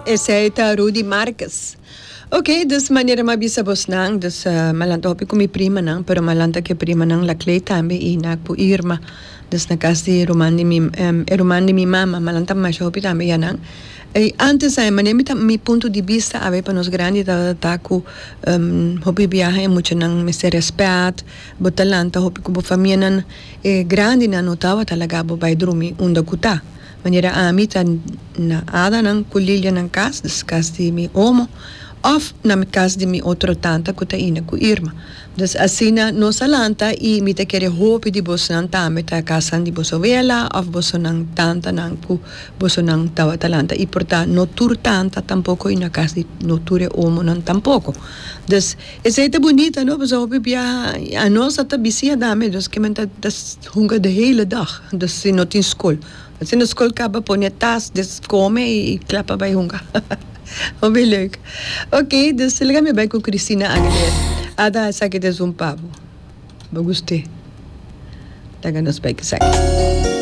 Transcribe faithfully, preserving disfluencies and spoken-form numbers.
Esey ta Rudy Marquez. Ok, dus manera m'a bisa bosnan, dus uh, m'a lanta hopi cu mi primanan, pero m'a lanta cu primanan la Clay tambe y na cu Irma. Dus na cas di ruman di mi, um, ruman di mi mama, m'a lanta mas hopi tambe yanan. E antes ay manera mi ta mi punto di vista awe pa nos grandi ta ta cu um, hopi biaha e muchanan mester respet, bo ta lanta hopi cu bo famianan e grandinan no tawata laga bo bay drumi unda cu ta. Manera ami ta na Adanan cu Lilia nan cas, dus cas di mi omo, of na mi cas di mi otro tanta cu ta Ina cu Irma. Dus asina nos a lanta y mi ta kere hopi di bosnan tambe ta cas di boso wela of bosonan tantanan cu bosonan tawata lanta. Y por ta no tur tanta tampoco y na cas di no tur e omonan tampoco. Dus esey ta bunita, no? Pasobra hopi biaha anos ta bisia dame, dus cu men ta hunga de hele dag. Dus si no tin school. Si na school caba pone tas, dus come y klapa bay hunga. Hopi leuk. Ok, dus laga mi bay cu Christina Aguilera. Ada, esaki ta un pa bo. Bo gusta. Laga nos bay cu esaki.